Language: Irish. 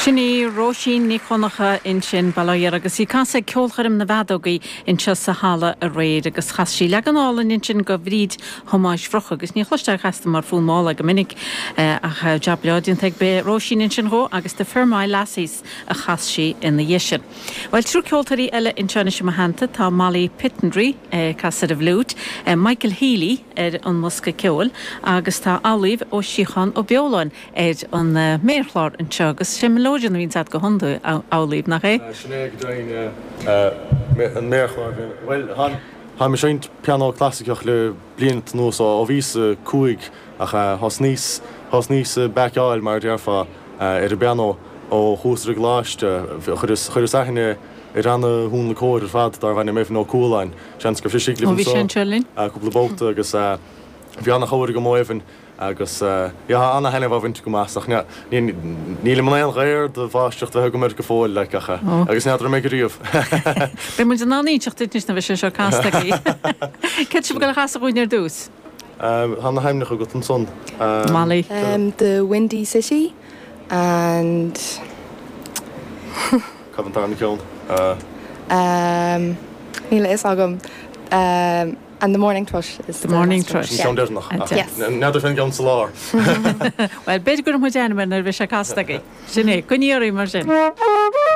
Sin í Róisín Nic Dhonncha ansin, Baile Átha Dheirge, agus í ag casadh ag Ceolchoirm na bhFeadógaí anseo sa halla aréir agus chas sí leagan álainn ansin go Bhríd Thomáis Bhrocha agus ní chloistear casta mar Fonn Mála go minic ach jab breá déanta ag Róisín ansin dhó agus The Fermoy Lassies a chas sí ina dhiaidh sin. Bhuel, triúr ceoltóirí eile anseo anois i mo theannta, tá Molly Pittendreigh ag casadh ar an bhfliúit, Michael Healy ar an mbosca ceoil agus tá Amhlaoibh Ó Síocháin Ó Beoláin ar an méarchlár anseo agus sé melodeon a bhíonns agat go hiondúil, a Amhlaoibh, nach é? Sin é go deimhin, an méarchlár. Bhuel, táim ag seinnt pianó clasaiceach le blianta anuas, ó bhíos 5, ach thosnaíos, thosnaíos ag baiceáil, mar a déarfá, ar an bpianó ó chuas ar an gcoláiste. Chuireas, chuireas aithne ar ana-thionlacóir ar fad darbh ainm Evan Ó Cualáin, seans go raibh sé istigh libh anseo cúpla babhta agus bhí ana-chabhair agam ó Evan. Agus yeah, tá ana-thaitneamh á bhaint agam as, ach nílim in aon ghair de mháistreacht a bheith agam air go fóill, like, ach, agus n'fheadar an mbeidh ariamh. Beidh muid in ann inseacht duit anois nuair a bheidh sé seo casta agaibh. Céard tá sibh ag dul a chasadh dhúinn ar dtús? Tá na hainmneacha agat ansan. Molly. The Windy City and. Cad an tarna ceann? Níl a fhios agam. And the morning thrush is the morning thrush. Sin ceann deireanach. Yes. N'fheadar fén gceann sa lár. Bhuel, b'fhéidir go gcuirfidh muid ainm air nuair a bheidh sé casta agaibh. Sin é. Coinnigí oraibh mar sin.